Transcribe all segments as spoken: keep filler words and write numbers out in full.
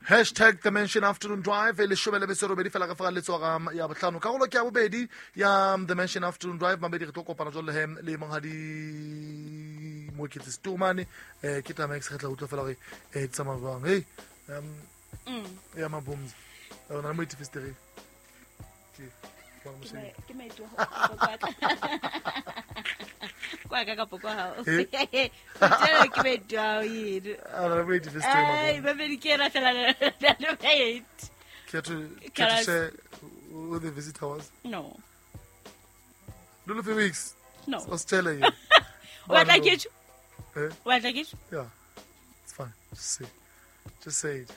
Hashtag The Mansion Afternoon Drive e leshome le metso e robedi fela ka fa letsoga ya botlhano. Karolo ke ya bobedi ya The Mansion Afternoon Drive. Mamedi re tlo kopana jwalo he le monghadi Moeketsi Setomane. Eh ke taba e ke tla utlwa fela hore eh tsamaya jwang. Hey um ya Mabomza. O na le moeti festereng. Ke ke maeto kwa ka kapo kwa hao. Eh? Ke maeto ao yeno. A na le moeti festereng. Ai, mamedi ke ena fela le maeti. Care to, Can care to I- share who the visitor was? No. Lulu Felix. No. I was telling you. O batla ke tjho? Eh? O batla ke tjho? Yeah. It's fine. Just say. Just say it.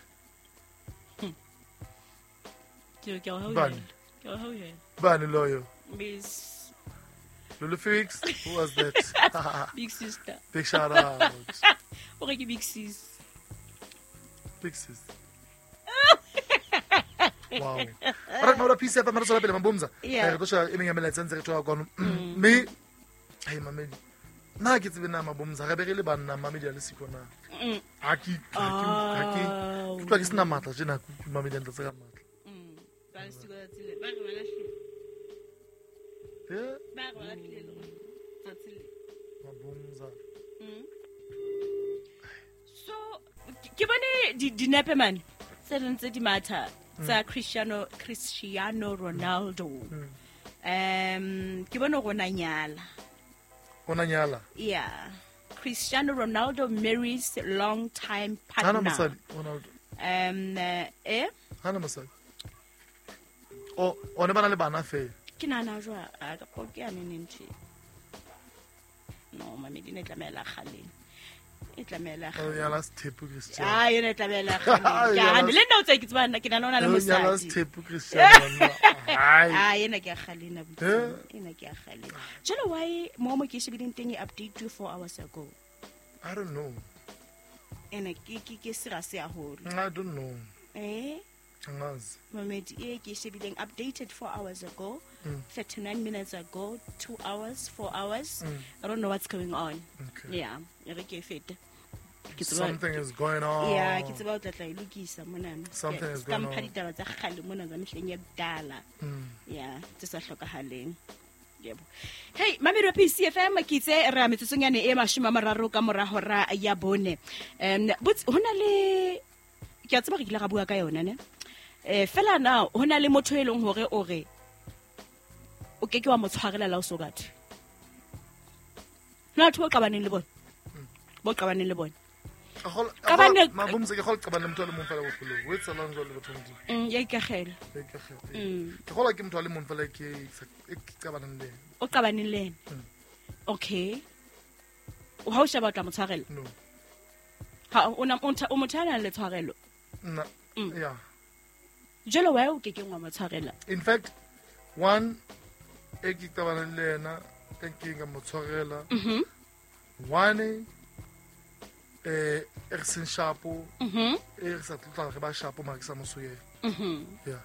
Ke ke o Bani. Ke o hauhela. Bani loyo. Miss Lulu Felix, who was that? Big sister. Big shout out. O re ke big sis. Big sis. Wow. Alright, Maura P C F M re tswela pele Mabomza. Yeah. Eh, re tlo sheba e meng ya melaetsa ntse re thola kwano. Mme hey mamedi. Nna ke tsebe na Mabomza re be re le banna mamedi a le siko na. Mm. Ha ke ha ke ha ke Au. ke utlwa ke sena matla tjena ke utlwe mamedi a ntlatse ka matla. Mm. Ba le siko tsatsi le. Ba re ba lahlile. Eh, Ba re ba lahlile le rona. Tsatsi le. Mabomza. Mm. So ke bone di dinepe mane tse ding tse di matha tsa Cristiano Cristiano Ronaldo. Mm. Um ke bone hore o na nyala. Ona nyala. Yeah. Cristiano Ronaldo marries long time Hana partner. mosadi Ronaldo. Um eh eh? Hana mosadi. O o ne bana le bana fela. Ke nahana jwang a ka po ke ya neneng tje. No, mamedi ne tlamehela kgaleng. E tlamehela O kgaleng. nyala Sethepu Cristiano. Ah, yena e tlamehela kgaleng. Ke Nyala- hane le nna o tsaya ke tseba nna ke nahana o na le O nyala mosadi. Sethepu Cristiano. Hai. Ah, yena ke ya kgaleng abuti. Eh? Ena ke ya kgaleng. Jwale why mo mo ke shebileng teng e update four hours ago. I don't know. Ene ke ke ke sera se haholo. I don't know. Eh? Angazi. Mamedi e ke shebileng updated four hours ago, Mm. thirty-nine minutes ago, two hours, four hours. Mm. I don't know what's going on. Okay. Yeah, e re ke e fete. Ke tseba- Something is going on. Yeah, ke tseba o tla tla e lokisa monana. Something Ke- is ska going mpha on. ditaba tsa kgale mona tsa mehleng ya kudala. Mm. Yeah, tse sa hlokahaleng. Yebo. Hey, mamedi wa P C F M ke itse re a metsotsong yane e mashome a mararo ka mora hora ya bone. Um botse ho na le ke a tseba re kile ra bua ka yona ne. Eh fela na ho na le motho e leng hore o re o ke ke wa mo tshwarela la o so batho. Na batho bo qabaneng le bona. Bo qabaneng le bona. A kgola- a Ka bane- kgola- Mabomza ke kgola qabana le motho a le mong fela bophelong. O etsahalang jwale batho ba Modimo? Mm, ya ikakgela. Ya ikakgela. Mm. Ke kgola ke motho a le mong fela ke e ke qabanang le yena. O qabaneng le yena. Mm. Okay. O ha o sheba o tla mo tshwarela? No. Ha o na o ntha- o motho a nang le tshwarelo. Nna. Mm. Yeah. Jwale why o kekeng wa mo tshwarela? In fact, one e ke qabanang le yena e ke ka mo tshwarela. Mhm. One eh e re seng shapo, Mhm. e re sa tlotla re ba shapo mara ke sa mo soyela. Mhm. Yeah.